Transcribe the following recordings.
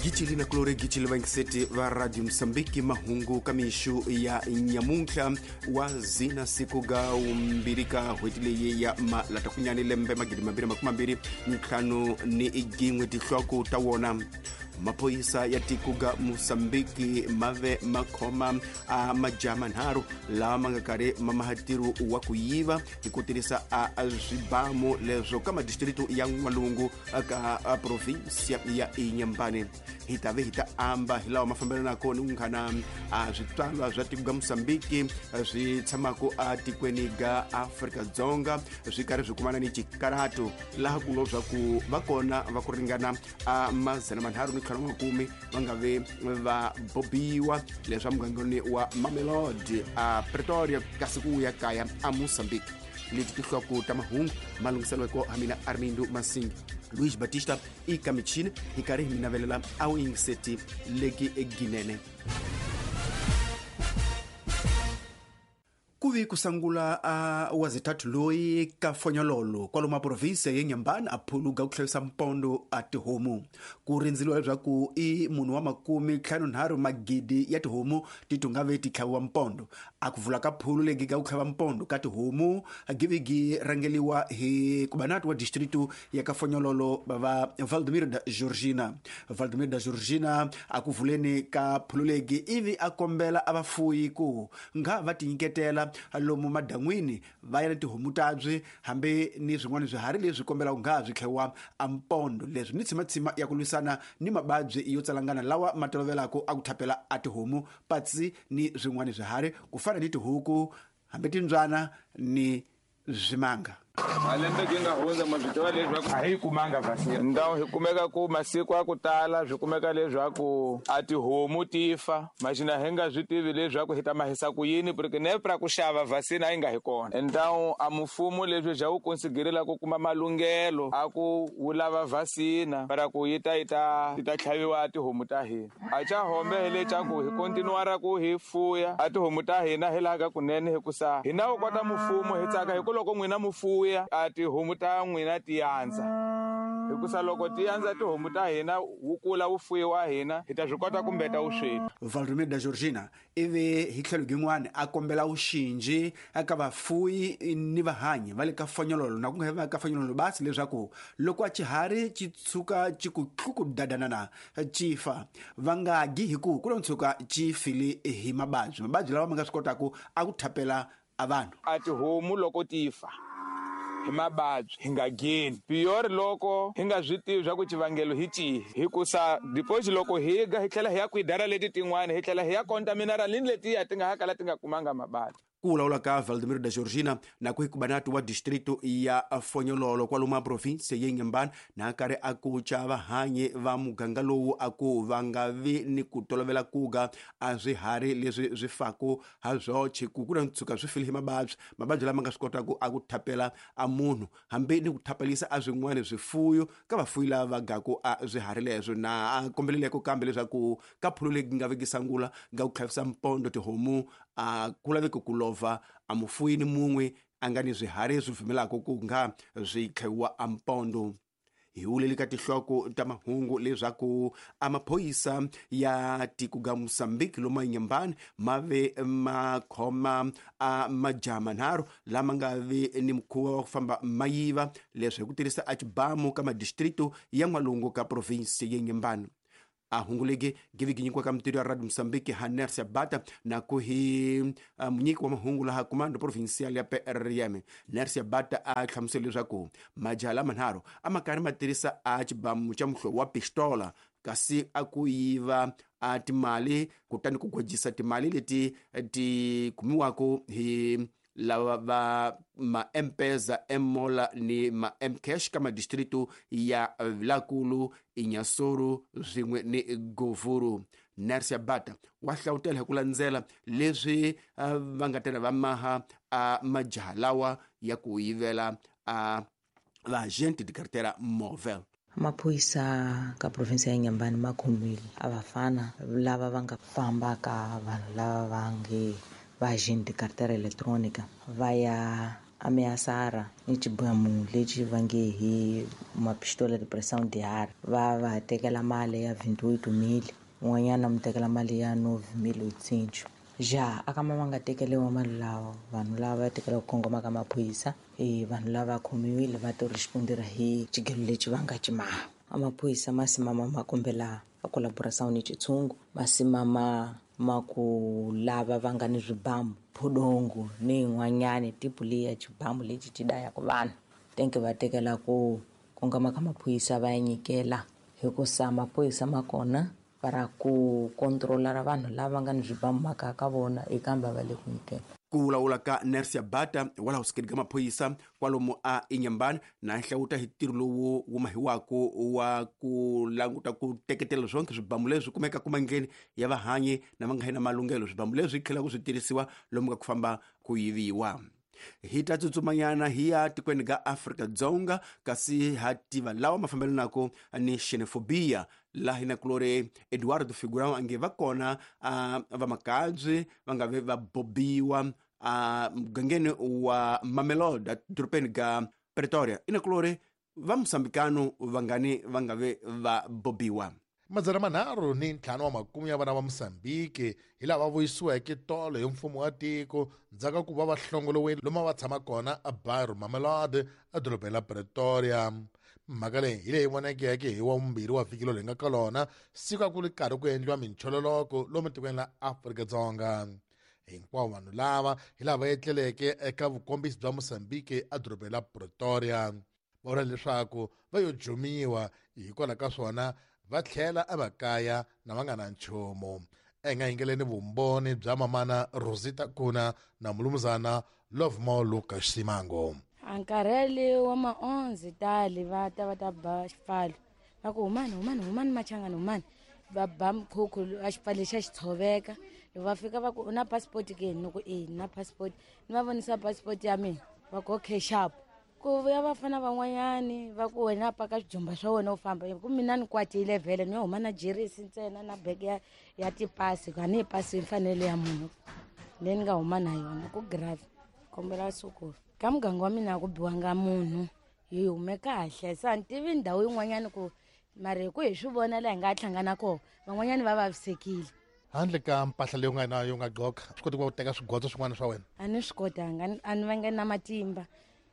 Gicili na kulori gicili vaingiseti va Radio Mosambiki, mahungu ka mixu ya nyamuntlha wa zina siku ga umbirhi ka n'hweti leyi ya malatakunyani lembe 2025. Tinhloko ta wona: maphorisa ya tiko ga Mosambiki mave makhoma a majaha manharhu lawa ma nga karhi ma maha ntirho wa ku yiva hi ku tirhisa a swibamu leswo ka madistritu ya N'walungu ka provinsia ya Inhambane. Hi ta ve hi ta amba hi lawa ma fambelanaka ni vunghana a switswalwa swa tiko ga Mosambiki swi tshamaka atikweni ga Afrika-Dzonga swi karhi swi kumana ni xikarhato, laha ku ngo swa ku va kona va ku ringana a 350 va nga ve va bobiwa leswa mugangeni wa Mamelodi a Pretoria, kasi ku ya kaya a Mosambiki. Leti tinhloko ta mahungu malunghiseleko ha mina Armindo Masingi, Luis Batista i ka michini, hi karhi hi mi navelela a wu yingiseti leki ginene. Ku vi ku sangula a wazithathu loyi ka Fonyololo kwalomu a provinsia ya Inhambane a phuluga ku hlayisa mpondo a tihomu. Ku rindzeliwa leswaku i munhu wa 53 magidi ya tihomu ti tungave ti tlhaviwa mpondo. A ku vula ka phulu legi ga ku tlhava mpondo ka tihomu givigi rangeliwa hi kubanati wa distritu ya ka Fonyololo va Valdemir da Georgina. Valdemir da Georgina a ku vuleni ka phulu legi ivi a kombela a vafuyi ku nga va tinyiketela lomu madan'wini va ya na tihomu tabyi hambi ni swin'wana swiharhi leswi kombelaka nga swi tlhewa a mpondo, leswi ni tshimatshima ya ku lwisana ni mababyi yo tsalangana lawa ma tolovelaka a ku thapela a tihomu patsi ni swin'wana swiharhi ku fana ni tihuku hambi timbyana ni swimanga. Malembe ki nga hundza ma swi tiva leswaku a hi kumanga vaccine. Ndhawu hi kumeka ku masiku a ku tala swi kumeka leswaku a tihomu ti fa, maxina hi nga swi tivi leswaku hi ta mahisa ku yini, porque nepra ku xava vaccine a yi nga hi kona. Ndhawu a mfumo leswi bya wu konsiderela ku kuma malunghelo a ku wu lava vaccine para ku yi ta yi ta yi ta tlhaviwa a tihomu ta hina. A xa hombe hi leswaku hi kontinuara ku hi fuya a tihomu ta hina hi laha ka kunene, hikusa hina wu kota mfumo hi tsaka hi ku loko n'wina mu fuya a tihomu ta n'wina ti yandza, hikusa loko ti yandza tihomu ta hina wu kula wu fuyiwa hina hi ta swi kota ku mbeta vusweti. Valdemir da Georgina ivi hi tlhelo gin'wana a kombela vuxinji eka vafuyi ni vahanyi va le ka Fonyololo na ku nga va ka Fonyololo basi, leswaku loko a xiharhi xi tshuka xi ku tluku dadanana xi fa, va nga gi hi ku ku lo tshuka xi file hi mababyi, mababyi lawa ma nga swi kotaka a ku thapela a vanhu. A tihomu loko ti fa hi mababyi hi nga geni piyori loko hi nga swi tivi swa ku xivangelo hi cihi, hikusa deposit loko hi ga hi tlhela hi ya kwidara leti tin'wana hi tlhela hi ya contaminara ni letiya ti nga ha kala ti nga kumanga mababyi. Ku vulavula ka Valdemir da Georgina na ku hikubanati wa distritu ya Fonyololo kwalomu a provinsia ya Inhambane na karhi a ku ca vahanyi va muganga lowu a ku va nga vi ni ku tolovela kuga a swiharhi leswi swi faku ha swoxe, ku ku na tshuka swi file hi mababyi, mababyi lama nga swi kotaka a ku thapela a munhu hambi ni ku thapelisa a swin'wana swifuyo ka vafuyi lava va gaku a swiharhi leswo. Na a kombeleleko kambe leswaku ka phulu leyi nga vekisa ngula nga ku tlhavisa mpondo tihomu a ku laveki ku lova a mufuyi ni mun'we a nga ni swiharhi swi pfumelaka ku nga swi tlhaviwa a mpondo. Hi wuleli ka tinhloko ta mahungu leswaku a maphorisa ya tiko ga Mosambiki lomu Inhambane ma ve ma khoma a majaha manharhu lama nga vi ni mukhuva wa ku famba ma yiva leswi hi ku tirhisa a xibamu ka madistritu ya N'walungu ka provinsi ya Inhambane. A hunguleke givigi nyikiwa ka mitirho ya Radio Mosambiki ha Nersia Bata na ku hi munyiki wa mahungu laha comando provincial ya PRM. Nersia Bata a hlamusela leswaku majaha lamanharhu a ma karhi ma tirhisa a xibamu xa muhlovo wa pistola kasi a ku yiva a timali, kutani ku gwajisa timali leti ti kumiwaka hi lava va ma M-Pesa, M-Mola ni ma M-Cash ka madistritu ya Vilakulu, Inhassoro swin'we ni Govuro. Nersia Bata wa hlawutela hi ku landzela leswi va nga tela va maha a majaha lawa ya ku yivela a vaagente de carteira móvel. Maphorisa ka province ya Inhambane ma khomile a vafana lava va nga famba ka vanhu lava va nge va agente de carteira eletrônica va ya A miasara ni xibamu lexi va nge hi mapistola de pressão de ar, va va tekela mali ya 28,000, un'wanyana mu tekela mali ya 9,800. Ja a ka ma va nga tekeliwa mali lawa, vanhu lava va tekela ku kongoma ka maphorisa, vanhu lava khomiwile va to respondera hi xigelo lexi va nga ximaha. A maphorisa ma simama ma kombela a collaboração ni xitshungu, ma simama ma ku lava va nga ni swibamu phodongo ni yin'wanyani tipu leyi ya xibamu lexi xi dayaka vanhu. Tenke va tekela ku kongoma ka maphorisa va ya nyikela, hikusa maphorisa ma kona va ra ku controla ra vanhu lava nga ni swibamu makaya ka vona ekambe va le ku nyikela. Ku vulavula ka Nersia Bata walaho sikeni ka maphorisa kwalomu a Inhambane na hlawuta hi ntirho lowu wu mahiwako wa ku languta ku teketela swonke swibamu leswi kumeka kumandleni ya vahanyi na va nga na malunghelo. Swibamu leswi tlhelaka swi tirhisiwa lomu ka ku famba ku yiviwa. Hi ta tsutsumanyana hi ya tikweni ka Afrika-Dzonga, kasi ha tiva lawa mafambelanako ni xenophobia, laha hi na kulori Eduardo Figurão ange va kona vamakabye va nga ve va bobiwa mugangeni wa Mamelodi edorobeni ka Pretoria. I na kulori va Mosambikano vangani va nga ve va bobiwa. 350 wa makume ya vana va Mosambiki hi lava vuyisiweke tolo hi mfumo wa tiko ndzhaku ka ku va va hlongoliwile lomu va tshama kona a Bairro Mamelodi edorobeni la Pretoria. Mhaka leyi hi leyi vonekeke hi wa vumbirhi wa vhiki lowu hi nga ka lona, siku a ku ri karhi ku endliwa minchololoko lomu tikweni la Afrika-Dzonga. Hinkwavo vanhu lava hi lava etleleke eka vukombisi bya Mosambiki edorobeni la Pretoria. Va vula leswaku va yo jumiwa, hikwalaho ka swona va tlhela emakaya na va nga na nchumu. Enga yingeleni vumbhoni bya mamana Rosita Kuna na mulumuzana Lovemore Lucas Simango. A nkarhi wa ma-11 tali va ta va ta ba xipfalo, va ku humani humani humani machangani humani, va ba mkhukhu a xipfalo lexa xi tshoveka. Loko va fika va ku u na passport ke? Ni ku e ni na passport, ni va vonisa passport ya mina, va ku okay sharp. Ku vuya vafana van'wanyani va ku wena paka swijumba swa wena u famba, ku mina ni kwatile vhele, ni yo huma na jeresi ntsena na bege ya tipasi, a ni yi pasi mfanelo ya munhu leyi ni nga huma na yona ku grave. Kombela sukulu ka muganga wa mina a ku biwanga munhu, hi hume kahle. Se a ni tivi ndhawu yin'wanyani ku mara hi ku hi swi vona laha hi nga hlangana kona, van'wanyani va vavisekile. Handle ka mpahla leyi u nga na yo nga gqoka, swi koti ku va u teka swigodzo swin'wana swa wena? A ni swi kotanga, a ni vange na matimba.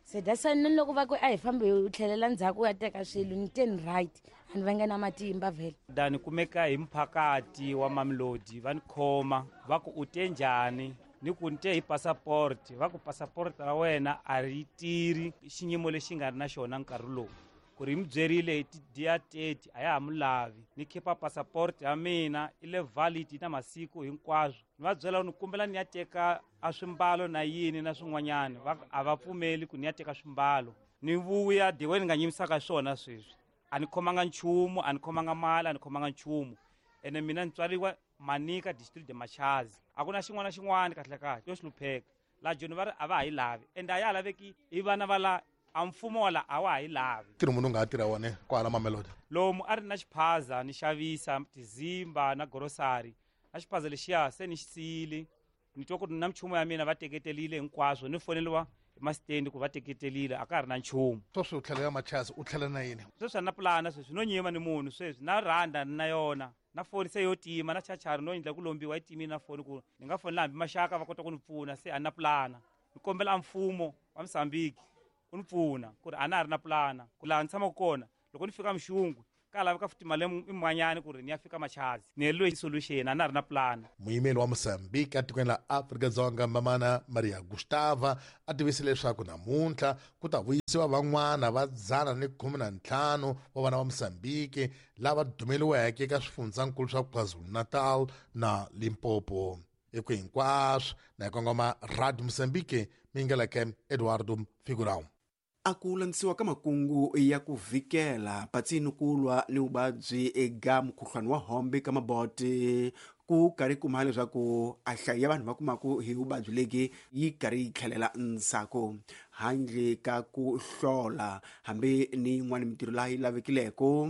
Se that's why ni loko va ku a hi fambi u tlhelela ndzhaku u ya teka swilo, ni te ni right, a ni vange na matimba vhele. Dani kumeka hi mphakati wa Mamelodi, va ni khoma va ku u te njhani, ni ku ni te hi passport, va ku passport ra wena a ri tirhi xiyimo lexi nga ri na xona nkarhi lowu. Ku ri mi byerile hi ti-dia 30 a ya ha mu lavi, ni khipa passport ya mina i le valid na masiku hinkwaswo. Ni va byela ni kombela ni ya teka a swimbalo na yini na swin'wanyana, va a va pfumeli ku ni ya teka swimbalo. Ni vuya the way ni nga nyimisaka swona sweswi, a ni khomanga nchumu, a ni khomanga mali, a ni khomanga nchumu. Ene mina ni tswariwa Manica district de Machazi, a ku na xin'wana na xin'wana kahle kahle yo hlupheka. La Joni va ri a va ha yi lavi, ende a ya ha laveki hi vana va la a mfumo wa la a wa ha yi lavi. Ntirho munhu u nga ha tirha wona kwala Mamelodi? Lomu a ri na xiphaza ni xavisa tizimba na grocery, na xiphaza lexiya se ni xi siyile, ni twa ku ri na minchumu ya mina va teketelile hinkwaswo, ni foneliwa hi masitendi ku va teketelile, a ka ha ri na nchumu. Sweswi u tlhela ya Machazi, u tlhela na yini? Sweswi a ni na pulana, sweswi no nyima ni munhu sweswi, na rhanda ni na yona, na foni se yo tima, na chachari no endla ku lombiwa yi timile na foni ku ni nga fonela hambi maxaka va kota ku ni pfuna, se a ni na pulana. Ni kombela a mfumo wa Mozambique u ni pfuna ku ri a na ha ri na pulana, ku laha ni tshamaka kona loko ni fika Mxungwe ka laveka futhi mali yin'wanyana ku ri ni ya fika Machazi, ni heleriwe hi solution, a na ha ri na pulana. Muyimeri wa Mozambique etikweni la Afrika-Dzonga Mamana Maria Gustava a tivise leswaku namuntlha ku ta vuyisiwa van'wana va 115 wa vana va Mozambique lava dumeliweke eka swifundzankulu swa KwaZulu-Natal na Limpopo. Hi ku hinkwaswo na hi kongoma Radio Mozambique, mingeleke Eduardo Figurão. A ku landzisiwa ka makungu ya ku vhikela patsini ku lwa ni vuvabyi eka mukhuhlwani wa hombe ka maboti, ku karhi kuma leswaku a hlayo ya vanhu va kumaku hi vuvabyi legi yi karhi yi tlhelela ndzhaku, handle ka ku hlola hambi ni yin'wana mintirho laha yi lavekileko.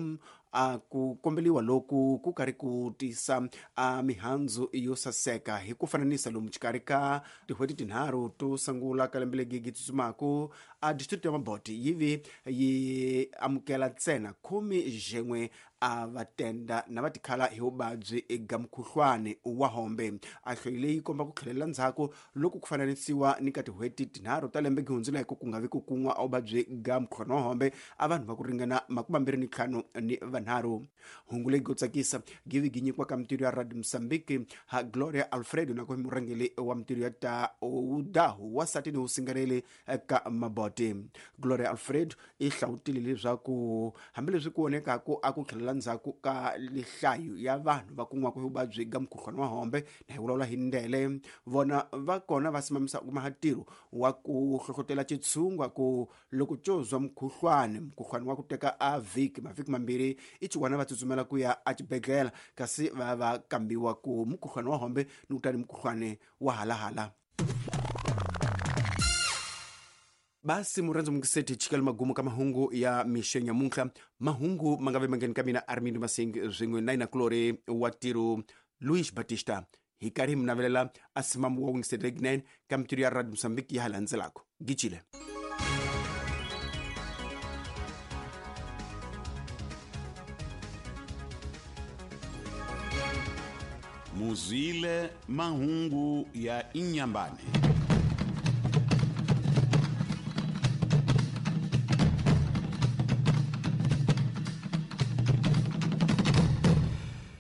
A ku kombeliwa loku ku karhi ku tisa a mihandzu yo saseka hi ku fananisa lomu xikarhi ka tin'hweti tinharhu to sungula ka lembe leri tsutsumaku, a district ya Maboti yi vi yi amukela ntsena 11 a va tenda na va tikhala hi vuvabyi eka mukhuhlwani wa hombe. A hloyi leyi komba ku tlhelela ndzhaku loko ku fananisiwa ni ka tin'hweti tinharhu ta lembe gihundzuleke ku nga vi ku kun'wa a vuvabyi ga mukhuhlwani wa hombe a vanhu va ku ringana 25. Hungu leyi go tsakisa givi gi nyikiwa ka mintirho ya Radio Mozambique ha Gloria Alfredo na ku murhangeri wa mintirho ya ta udahu wa sati ni usingareli ka Maboti. Gloria Alfredo i hlawutile leswaku hambileswi ku vonekaku a ku tlhelela ndzhaku ka lihlayo ya vanhu va kun'waka hi vuvabyi ga mukhuhlwani wa hombe na hi vulavula hi ndele vona va kona va simamisa kuma ntirho wa ku hlohlotela xitshungwa ku loko co zwa mukhuhlwani wa ku teka a vhiki mavhiki mambirhi i xiwana va tsutsumela ku ya exibedhlele kasi va va kambiwa ku mukhuhlwani wa hombe ni kutani mukhuhlwani wa halahala. Basi murhandzi mungiseti chikela magumu ka mahungu ya mixo nyamuntlha. Mahungu ma nga ve mangheni ka mina Armindo Masing swin'we na inakulori wa tiro Luis Batista hi karhi hi mi navelela a simamu wa wingiseti leginene ka mintirho ya Radio Mozambique ya ha landzelaka. Gicile. Muzwile mahungu ya Inyambane.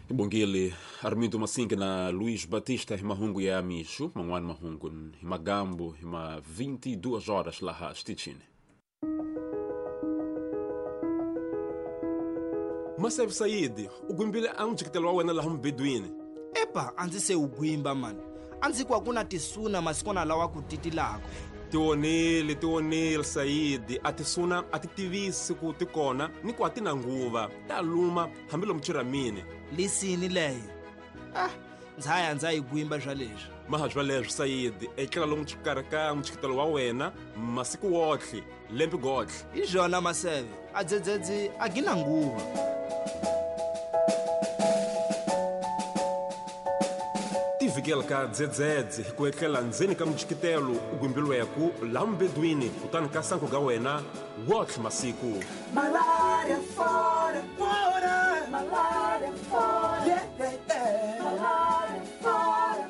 Bongele Armindo Massinga na Luís Batista mahungu ya mixo mangwani mahungu himagambo hima 22 horas laha stichini. Masev Said ugwimbile amjikitelo wa wena laha mbedwini. Epa a ndzi se u gwimba mani, a ndzi ku a ku na tisuna masikwana lawa ku titilaka. Tionile Saidi, a tisuna a ti tivisi ku ti kona ni ku a ti na nguva ta luma hambi lomu chiramini. Lisini leyo ndzaya ndza yi gwimba swa leswi maha swa leswi Saidi, etlela lomu xikarhi ka mchikitelo wa wena masiku wotlhe lembe gotlhe. Hi swona Maseve, a dzedzedzi a gi na nguva. Tivikela ka dzedzedze hi ku etlela ndzeni ka mchikitelo u gwimbilweku laha mbedwini kutani ka sanku ga wena wotlhe masiku. Malaria fora, fora, malaria fora, yeah, yeah, yeah. Malaria fora,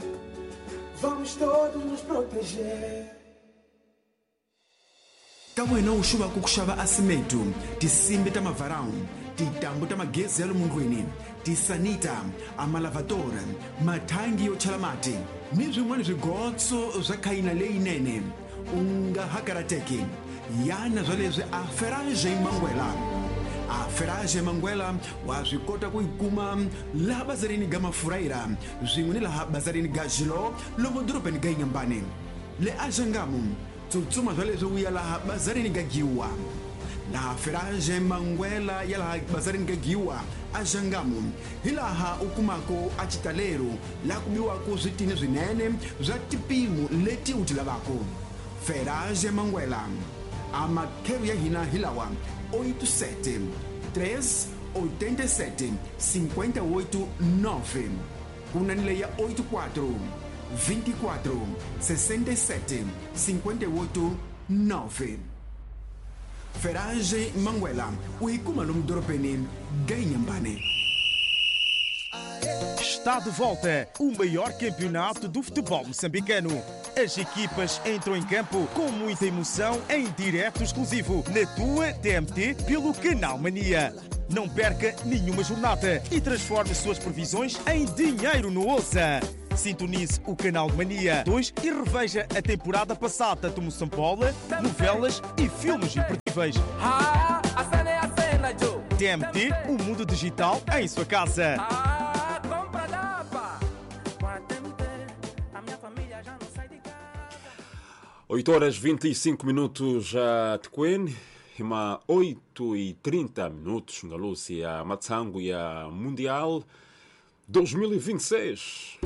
vamos todos nos proteger. Ka wena u xuvaku ku xava asimetu tisimbi ta mavarawu titambu ta magezi ya lomu ndlwini tisanita amalavadora mathangi yo chela mati ni swin'wana swigotso swa khayina leyinene u nga ha karateki yana swa leswi a Ferrage Mangwela. A Ferrage Mangwela wa swi kota ku yi kuma laha bazarini ga Mafuraira swin'we ni laha bazarini ga Xilo lomu dorobeni ga Inyambane le Axangamu. Tsutsuma swa leswi u ya laha bazarini ga Giwa. Laha Ferrage Mangwela ya laha bazarini ga Giwa Axangamu hi laha u kumako a xitalelo laha ku biwako switini swinene swa tipimo leti u ti lavako. Ferrage Mangwela a makhelo ya hina hi lawa 87 3 87 58 9 ku na ni leya 84 24 67 58 9. Ferrage Mangwela u yi kuma lomu dorobeni ga Inyambane. Está de volta o maior campeonato do futebol moçambicano. As equipas entram em campo com muita emoção em direto exclusivo na tua TMT pelo Canal Mania. Não perca nenhuma jornada e transforme suas previsões em dinheiro no Ouça. Sintonize o Canal Mania 2 e reveja a temporada passada do Moçambola, novelas e filmes imperdíveis. TMT, o mundo digital em sua casa. Oito horas 25 minutos a Tequene, ima 8:30 na Lúcia Matsango e a Mundial 2026.